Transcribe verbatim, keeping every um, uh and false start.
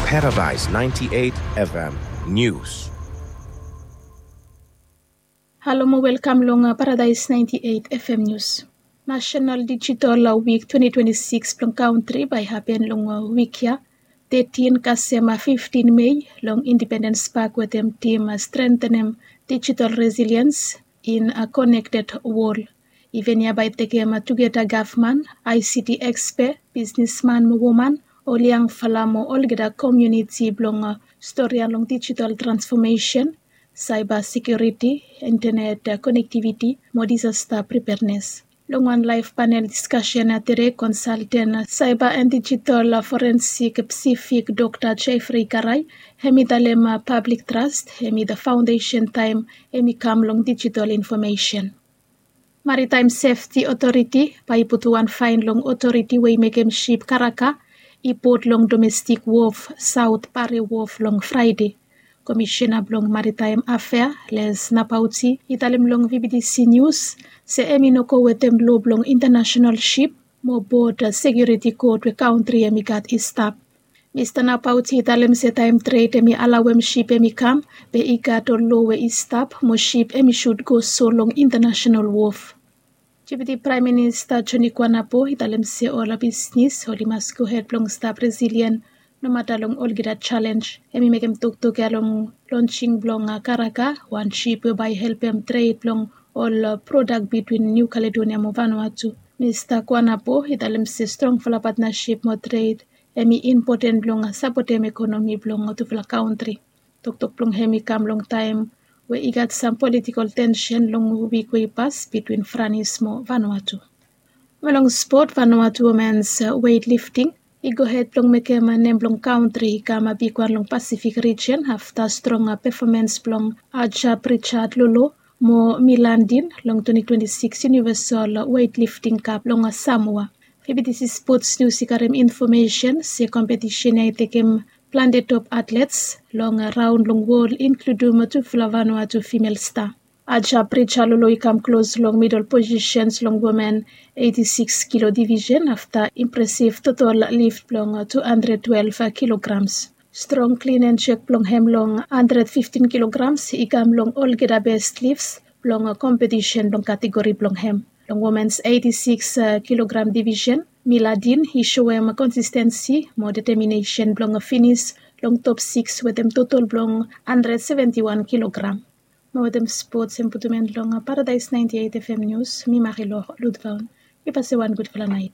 Paradise ninety-eight F M News. Halo mo welkam long Paradise ninety-eight F M News. National Digital Week twenty twenty-six blong kantri bae hapen long wik ya, thirteen kasem fifteen Mei, long Independence Park wetem tim strentenem digital resilience in a connected world. Iven ya bae tekem tugeta gavman, I C T expert, bisnisman mo woman, ol yangfala mo olgeta komuniti blong storian long digital transformation, cyber security, internet connectivity mo disaster preparedness. Long wan live panel discussion tede, consultant cyber and digital forensic Pacific Doctor Jeffrey Karai, hemi talem public trust hemi the foundation taem hemi kam long digital information. Maritime Safety Authority bae i putum wan faen long otoriti we i mekem sip karaka i pot long domestic wharf, South Pare Wharf, long Fraede. Komisena blong Maritime Afea, Les Napauti, i talem long V B T C News se hemi no go wetem loa blong intanasenal sip mo bot sekiuriti kot we kantri hemi gat i stap. Mista Napauti i talem se taem tred hemi alaoem sip hemi kam, be i gat ol loa we i stap mo sip hemi sud go so long intanasenal wharf. Deputi Praem Minista Joni Kuanapo i talem se ol bisnis oli mas gohed blong stap resilien nomata long olgeta jalenj. Hemi mekem toktok ya long lonsing blong karaka, wan sip we bae i helpem tred blong ol prodak bitwin Niu Kaledonia mo Vanuatu. Mista Kuanapo i talem se strongfala patnasip mo tred hemi impoten blong sapotem ekonomi blong tufala kantri. Toktok blong hem i kam long taem we i gat sam politikol tensen long wik we i pas bitwin Franis mo Vanuatu. Mo long spot, Vanuatu womens weightlifting i gohed blong mekem nem blong kantri i kam bigwan long Pasifik rijen afta strong pefomens blong Aja Pritchard Lolo mo Milandin long twenty twenty-six Universal Weightlifting Cup long Samoa. V B T C Sports News i karem infomesen se kompetisen ya i tekem plante top atlets long raon long wol, inkludum tufala Vanuatu fimel sta. Aja Pritchard Lolo i kam klos long midol posisens long women eighty-six kilo divisen afta impresiv totol lift blong two hundred twelve kilograms. Strong klin and jerk blong hem long hundred fifteen kilograms i kam long olgeta bes lifts blong kompetisen blong kategori blong hem. Long womens eighty-six kilogram divisen, Miladin i soem konsistensi mo deteminesen blong finis long top sikis wetem totol blong hundred seventy-one kilogram. Mo wetem spots, hem putum en long Paradise ninety-eight F M News, mi Marilor Ludvaun. Mi pasem wan gudfala naet.